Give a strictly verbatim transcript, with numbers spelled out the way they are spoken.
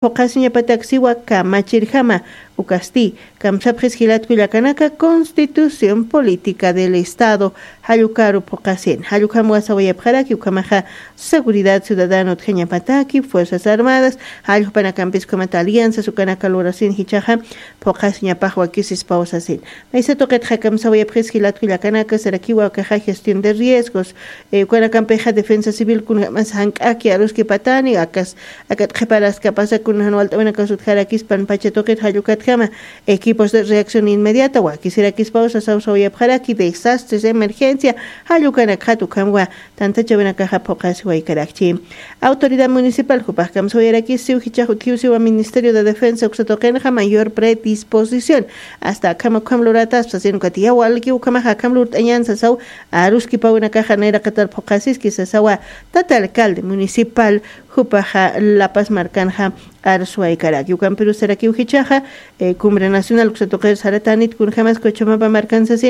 phuqasiñapataksiwa kamachirjama. Ukasti kamsapxis jilatkullakanaka constitución política del estado jallukaru phuqasin jallukam wasawayapxaraki ukamaxa seguridad ciudadano utjañapataki fuerzas armadas jallukpanakampis ukamata alianzas ukanaka lurasin jichaxa phuqasiñapax wakisispawsasin. Maysa tuqitxa kamsawayapxis jilatkullakanaka sarakiwa ukaxa gestión de riesgos. Ukanakampixa defensa civil kunjamas jank'aki aruskipatani akas akat qhiparaskapasa kunajan walt'awinakasutjarakispan pacha tuqit jallukatjama equipos de reacción inmediata wakisirakispaw sasawsawayapxaraki desastres emergencia jallukanakxat ukhamwa tantachawinakaxa phuqasiwaykarakchi. Autoridad municipal jupax kamsawayarakisiw jichax utjiwsiwa ministerio de defensa uksatuqinxa mayor predisposición asta akhama ukham lurataspa sino katiyaw alki ukhamaxa akham lurt'añan sasaw aruskipawinakaxa nayraqatar phuqasiski sasawa tata alcalde municipal jupaxa lapas markanxa arsuwaykaraki ukampirusarakiw jichaxa cumbre nacional uksatuqir saratanit kunjamas cochamapa markansasi.